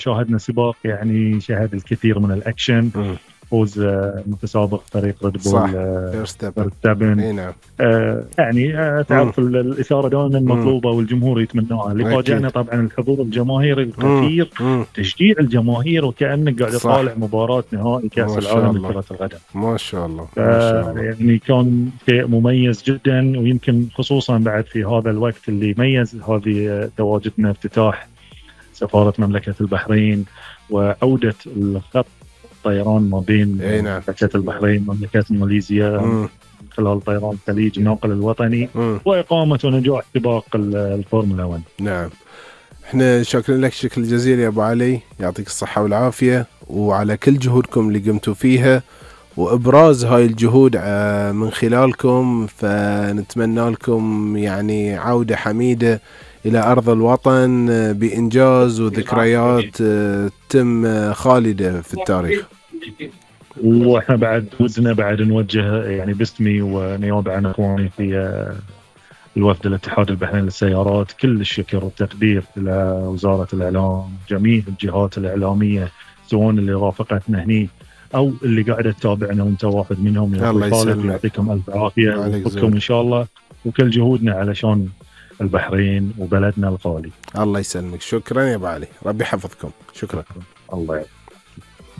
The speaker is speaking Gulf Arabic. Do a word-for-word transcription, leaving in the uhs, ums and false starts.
شاهدنا سباق يعني شهد الكثير من الأكشن. مم. فوز آه، متسابق فريق ريد صح، بول آه، فيرستابن. فيرستابن. اي نعم. آه، يعني آه، مم. تعرف ال- الإثارة دائما مم. مطلوبة والجمهور يتمناها. اللي اكيد. فاجأنا طبعا الحضور الجماهيري مم. الكثير، مم. تشجيع الجماهير وكأنك قاعد صح، تطالع مباراة نهائي كأس ما شاء العالم الله، لكرة القدم. ما شاء الله، ف- ما شاء الله. يعني كان شيء مميز جدا، ويمكن خصوصا بعد في هذا الوقت اللي يميز هذه آه، تواجدنا افتتاح سفارة مملكة البحرين وعودة الخط الطيران ما بين اي نعم. مملكة البحرين ومملكة ماليزيا مم. من خلال طيران الخليج الناقل الوطني، مم. وإقامة ونجاح سباق ال- الفورمولا واحد. نعم. احنا شاكرين لك شكر جزيل يا ابو علي، يعطيك الصحة والعافية، وعلى كل جهودكم اللي قمتوا فيها وابراز هاي الجهود آه، من خلالكم. فنتمنى لكم يعني عودة حميدة الى ارض الوطن آه، بانجاز وذكريات آه، تم آه، خالدة في التاريخ. واحنا بعد ودنا بعد نوجه يعني باسمي ونيابه عن اخواني في آه، الوفد الاتحاد البحريني للسيارات كل الشكر والتقدير الى وزاره الاعلام، جميع الجهات الاعلاميه سواء اللي رافقتنا هني او اللي قاعده تتابعنا وانت واحد منهم. يا الله اخوي خالد يسلمك. يعطيكم الف عافيه عليك ويوفقكم زود. ان شاء الله، وكل جهودنا علشان البحرين وبلدنا الغالي. الله يسلمك. شكرا يا ابو علي، ربي يحفظكم. شكرا. الله يعافيك.